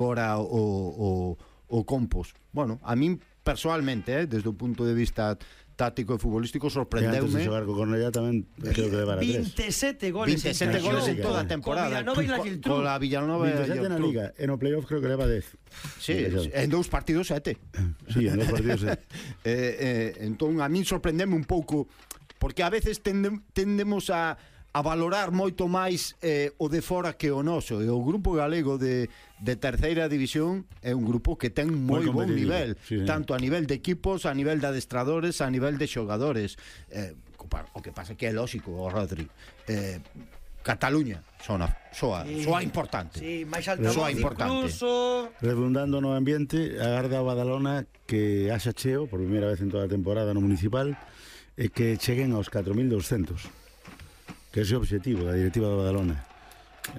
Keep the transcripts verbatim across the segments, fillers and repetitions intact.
agora o, o, o Compos. Bueno, a min personalmente, eh, desde o punto de vista táctico e futbolístico, sorprendeume. E antes de xogar co Cornellá tamén creo que levara tres. veintisiete goles veintisiete goles en toda a temporada. Con Villanova e la Geltrú. Con la Villanova e veintisiete na Liga, e no playoff creo que leva dez. Sí, en dous partidos sete. Sí, en dous partidos sete. eh, eh, entón, a min sorprendeme un pouco, porque a veces tendem, tendemos a a valorar moito máis eh, o de fora que o noso, e o grupo galego de, de terceira división é un grupo que ten moi bon nivel, sí, tanto a nivel de equipos, a nivel de adestradores, a nivel de xogadores. eh, o que pasa que é lógico, o Rodri, eh, Cataluña soa, soa, sí, soa importante, sí, máis alta soa importante. Incluso... Redundando no ambiente, agarda a Badalona que haxa cheo por primeira vez en toda a temporada no municipal, e que cheguen aos catro mil doscientos, que é o objetivo da directiva de Badalona,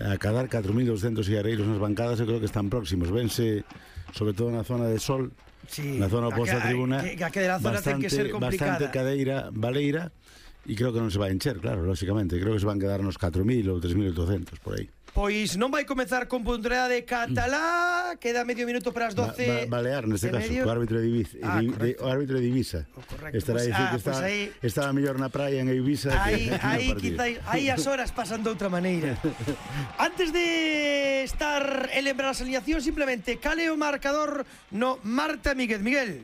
acadar catro mil doscientos cigarreiros nas bancadas. Eu creo que están próximos, vense sobre todo na zona de Sol, sí, na zona oposta a tribuna, que, que a zona bastante, ten que ser complicada, bastante cadeira, baleira, e creo que non se vai encher, claro, lógicamente, creo que se van quedar nos catro mil ou tres mil oitocentos por aí. Pois non vai comezar con Pontevedra de Catalá, queda medio minuto para as doce. Ba, ba, Balear, neste caso, o árbitro de Ibiza, ah, de, o árbitro de Ibiza. Oh, estará pues, a dicir ah, que está, pues ahí, estaba mellor na praia en Ibiza aí, que aí, quizá, aí as horas pasan de outra maneira. Antes de estar en lembrar as alineacións, simplemente cale o marcador no Marta Míguez. Miguel.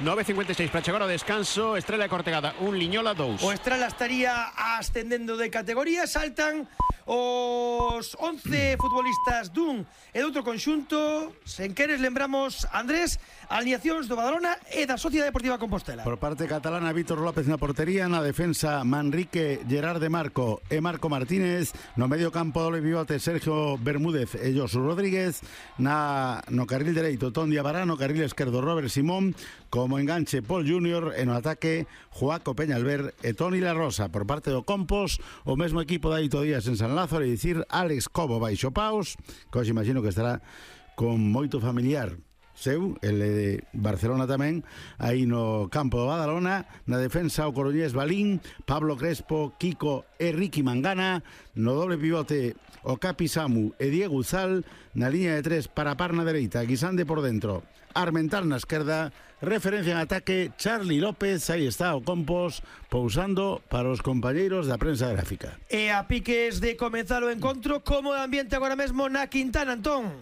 nove cincuenta e seis para chegar ao descanso. Estrela e Cortegada un, Liñola dous. O Estrela estaría ascendendo de categoría. Saltan os once futbolistas dun e de outro conxunto. Sen queres lembramos, Andrés, alineacións do Badalona e da Sociedade Deportiva Compostela. Por parte catalana, Vítor López na portería, na defensa Manrique, Gerard de Marco e Marco Martínez, no medio campo doble pivote Sergio Bermúdez e Josu Rodríguez, na no carril dereito Ton Diabará, no carril esquerdo Robert Simón, como enganche Paul Junior, e no ataque Joaco Peñalver e Toni La Rosa. Por parte do Compos, o mesmo equipo de Aito Díaz en San Lázaro, e dicir Alex Cobo baixo paus, que hoxe imagino que estará con moito familiar seu, el de Barcelona tamén, aí no campo do Badalona. Na defensa o coruñés Balín, Pablo Crespo, Kiko e Ricky Mangana, no doble pivote o Capi Samu e Diego Uzal, na liña de tres para Parna dereita, Guisande por dentro, Armental na esquerda, referencia en ataque Charlie López. Aí está o Compos pousando para os compañeiros da prensa gráfica. E a piques de comenzar o encontro, como de ambiente agora mesmo na Quintana, Antón?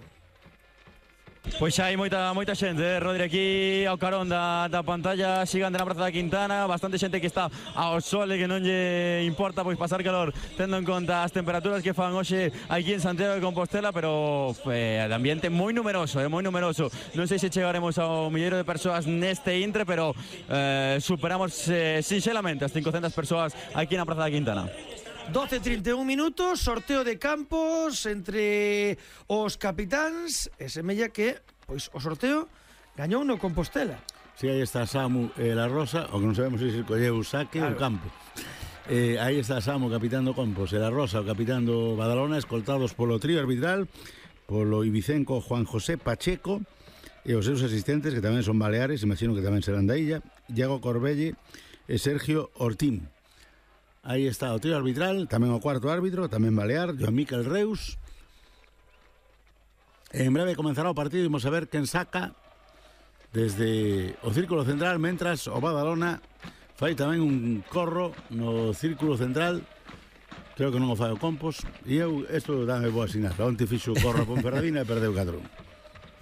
Pois xa hai moita moita xente, eh, Rodri, aquí ao carón da, da pantalla xigante na Praza da Quintana, bastante xente que está ao sol e que non lle importa pois pasar calor, tendo en conta as temperaturas que fan hoxe aquí en Santiago de Compostela, pero eh, de ambiente moi numeroso, eh, moi numeroso. Non sei se chegaremos ao milleiro de persoas neste intre, pero eh, superamos eh, sinxelamente as cincocentas persoas aquí na Praza da Quintana. doce e trinta e un minutos, sorteo de campos entre os capitáns, e semella que pois o sorteo gañou no Compostela. Si, sí, aí está Samu e La Rosa, o que non sabemos se si colleu o saque ou claro. O campo. Eh, aí está Samu, capitán do Compos, e La Rosa, o capitán do Badalona, escoltados polo trío arbitral, polo ibicenco Juan José Pacheco, e os seus asistentes, que tamén son baleares, imagino que tamén serán da illa, Iago Corbelle e Sergio Ortín. Aí está o trío arbitral, tamén o cuarto árbitro, tamén balear, Joan Miquel Reus. En breve comenzará o partido e imos a ver quen saca desde o círculo central, mentras o Badalona fai tamén un corro no círculo central. Creo que non o fai o Compos, e eu, isto dame boa sinal. Onte fixo o corro a Ponferradina e perdeu catro un.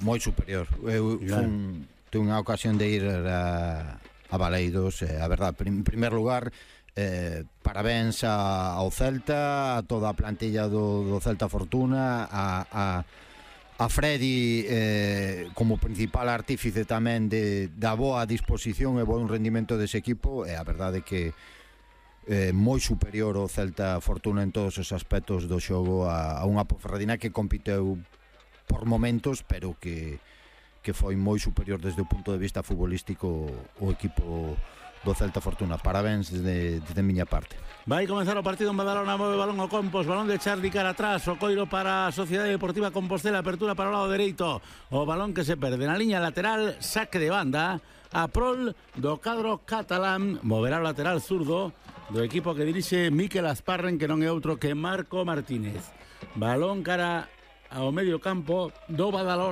Moi superior. Eu fun, tuve unha ocasión de ir a, a Baleidos, eh, a verdad, en primer lugar, Eh, parabéns a, ao Celta, a toda a plantilla do, do Celta Fortuna, a, a, a Freddy eh, como principal artífice tamén de, da boa disposición e bon rendimento dese equipo. E a verdade é que eh, moi superior o Celta Fortuna en todos os aspectos do xogo a, a unha Ponferradina que compiteu por momentos, pero que, que foi moi superior desde o punto de vista futbolístico o equipo do Celta Fortuna. Parabéns desde, desde miña parte. Vai comenzar o partido en Badalona, move balón o Compos, balón de Charlie cara atrás, o coiro para a Sociedade Deportiva Compostela, apertura para o lado dereito, o balón que se perde na liña lateral, saque de banda a prol do cadro catalán, moverá o lateral zurdo do equipo que dirixe Miquel Asparren, que non é outro que Marco Martínez. Balón cara ao medio campo do Badalona.